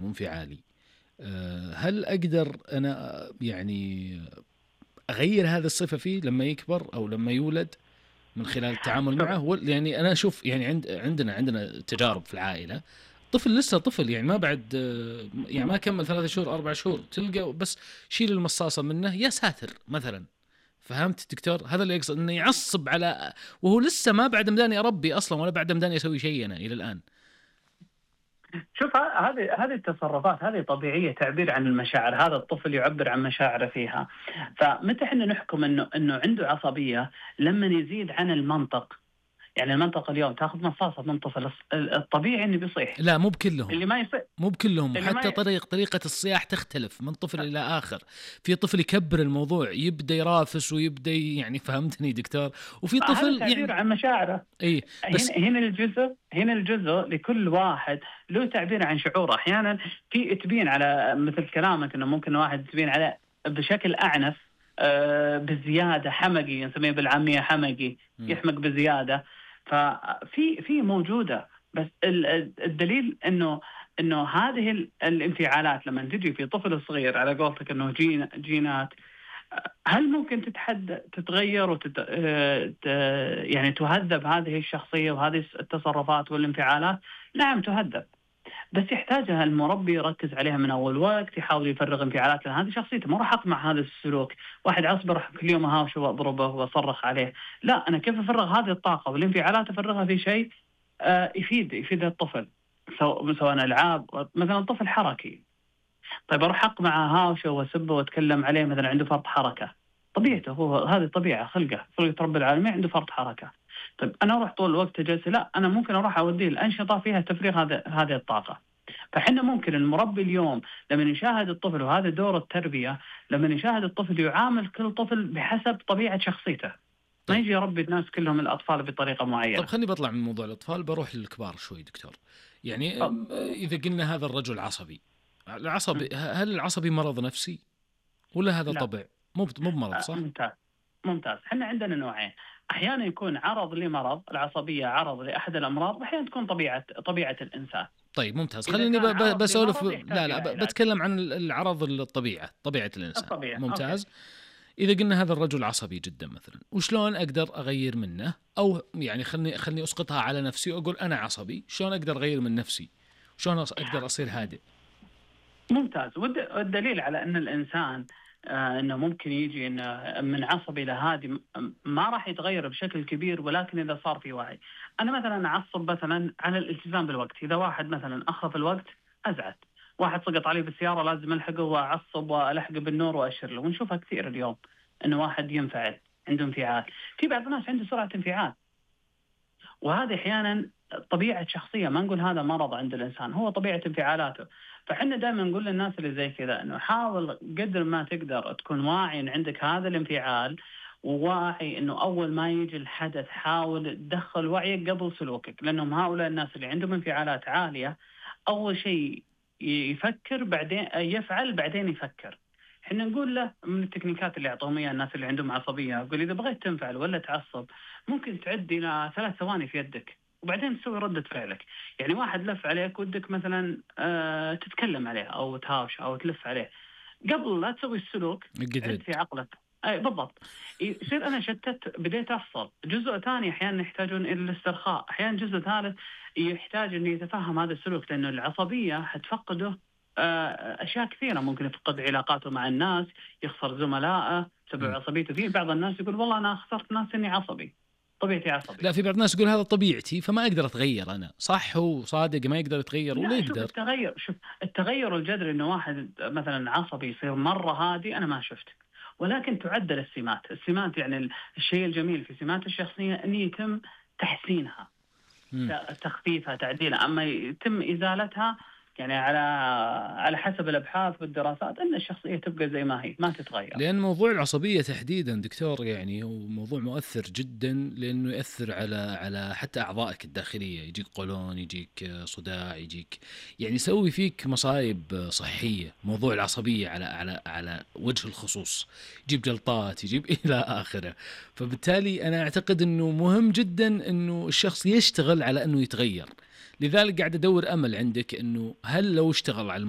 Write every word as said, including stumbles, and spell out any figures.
وانفعالي، أه هل أقدر أنا يعني أغير هذه الصفة فيه لما يكبر أو لما يولد من خلال التعامل معه؟ يعني أنا أشوف يعني عند عندنا عندنا تجارب في العائلة، طفل لسه طفل يعني ما بعد يعني ما كمل ثلاثة شهور أربع شهور تلقى بس شيل المصاصة منه يا ساتر مثلا. فهمت دكتور؟ هذا اللي يقصد، إنه يعصب على وهو لسه ما بعد مداني أربي أصلا ولا بعد مداني أسوي شيء أنا إلى الآن. شوف هذه هذه التصرفات هذه طبيعية، تعبير عن المشاعر، هذا الطفل يعبر عن مشاعره فيها. فمتى احنا نحكم انه انه عنده عصبية؟ لما يزيد عن المنطق. يعني المنطق اليوم تاخذ مصاصة من طفل الطبيعي انه بيصيح. لا مو بكلهم، اللي ما يصيح مو بكلهم، حتى ي... طريق طريقة الصياح تختلف من طفل إلى آخر. في طفل يكبر الموضوع يبدأ يرافس ويبدأ يعني، فهمتني دكتور؟ وفي طفل تعبير يعني عن مشاعره. اي بس هنا هنا الجزء هنا الجزء لكل واحد له تعبير عن شعوره. احيانا في تبين على مثل كلامك انه ممكن واحد تبين على بشكل اعنف آه بزياده، حمقي نسميه بالعاميه حمقي، يحمق بزياده. ففي في موجوده، بس الدليل انه انه هذه الانفعالات لما تجي في طفل صغير على قولتك انه جين جينات، هل ممكن تتحد تتغير وتت... يعني تهذب هذه الشخصية وهذه التصرفات والانفعالات؟ نعم تهذب، بس يحتاجها المربي يركز عليها من أول وقت، يحاول يفرغ انفعالات، لأن هذه شخصيته. ما راح أقمع هذا السلوك، واحد عصبي راح كل يوم أهاوشه وأضربه وأصرخ عليه. لا، أنا كيف أفرغ هذه الطاقة والانفعالات؟ أفرغها في شيء يفيد يفيد الطفل، سواء ألعاب. مثلا الطفل حركي، طيب أروح أقمع هاوشه وأسبه وأتكلم عليه، مثلا عنده فرط حركة، طبيعته هو هذه طبيعة خلقه خلقة رب العالمين عنده فرط حركة. طيب أنا أروح طول الوقت جالسة؟ لا، أنا ممكن أروح أوديه الأنشطة فيها تفريغ هذا هذه الطاقة. فحنا ممكن المربي اليوم لما يشاهد الطفل، وهذا دور التربية، لما يشاهد الطفل يعامل كل طفل بحسب طبيعة شخصيته. ما يجي يربي الناس كلهم الأطفال بطريقة معينة. طب خليني بطلع من موضوع الأطفال بروح للكبار شوي دكتور. يعني إذا قلنا هذا الرجل عصبي، العصبي هل العصبي مرض نفسي ولا هذا لا. طبع مو مو بمرض صح؟ ممتاز ممتاز. احنا عندنا نوعين، احيانا يكون عرض لمرض، العصبيه عرض لاحد الامراض، واحيانا تكون طبيعه طبيعه الانسان. طيب ممتاز. خليني بسولف لا لا بتكلم عن العرض الطبيعه طبيعه الانسان الطبيعة. ممتاز. أوكي. إذا قلنا هذا الرجل عصبي جدا مثلا، وشلون أقدر أغير منه؟ أو يعني خلني خلني أسقطها على نفسي وأقول أنا عصبي، شلون أقدر أغير من نفسي؟ شلون أقدر أصير هادئ؟ ممتاز. والدليل على أن الإنسان آه أنه ممكن يجي إنه من عصبي لهادئ ما راح يتغير بشكل كبير، ولكن إذا صار في وعي. أنا مثلا أعصب مثلا على الالتزام بالوقت. إذا واحد مثلا أخذ الوقت أزعل، واحد سقط عليه بالسيارة لازم ألحقه وأعصب وألحقه بالنور وأشر له. ونشوفها كثير اليوم إنه واحد ينفعل، عنده انفعال. في بعض الناس عنده سرعة انفعال، وهذه أحيانا طبيعة شخصية، ما نقول هذا مرض عند الإنسان، هو طبيعة انفعالاته. فحنا دائما نقول للناس اللي زي كذا إنه حاول قدر ما تقدر تكون واعي إن عندك هذا الانفعال، وواعي إنه أول ما يجي الحدث حاول تدخل وعيك قبل سلوكك. لأنهم هؤلاء الناس اللي عندهم انفعالات عالية أول شيء يفكر بعدين يفعل بعدين يفكر. احنا نقول له من التكنيكات اللي يعطوهم اياها الناس اللي عندهم عصبيه، يقول اذا بغيت تنفعل ولا تعصب ممكن تعد الى ثلاث ثواني في يدك وبعدين تسوي ردة فعلك. يعني واحد لف عليك ودك مثلا آه تتكلم عليه او تهاوش او تلف عليه، قبل لا تسوي السلوك عد في عقلك. اي بالضبط. يصير انا شتت بديت افصل. جزء ثاني احيانا يحتاجون الى الاسترخاء، احيانا جزء ثالث يحتاج انه يتفهم هذا السلوك، لانه العصبيه حتفقده أشياء كثيرة. ممكن يفقد علاقاته مع الناس، يخسر زملائه بسبب عصبيته. في بعض الناس يقول والله أنا خسرت ناس إني عصبي، طبيعتي عصبي. لا، في بعض الناس يقول هذا طبيعتي فما أقدر أتغير أنا. صح، هو صادق ما يقدر يتغير ولا يقدر. شوف التغير شوف التغير الجذري إنه واحد مثلا عصبي يصير مرة هادي، أنا ما شفت. ولكن تعدل السمات. السمات يعني الشيء الجميل في سمات الشخصية أن يتم تحسينها، م. تخفيفها، تعديلها. أما يتم إزالتها يعني على على حسب الأبحاث والدراسات أن الشخصية تبقى زي ما هي، ما تتغير. لأن موضوع العصبية تحديدا دكتور يعني هو موضوع مؤثر جدا، لأنه يأثر على على حتى أعضائك الداخلية. يجيك قولون، يجيك صداع، يجيك يعني يسوي فيك مصايب صحية. موضوع العصبية على على على وجه الخصوص يجيب جلطات، يجيب إلى آخره. فبالتالي أنا أعتقد أنه مهم جدا أنه الشخص يشتغل على أنه يتغير، لذلك قاعد ادور امل عندك انه هل لو اشتغل على الموضوع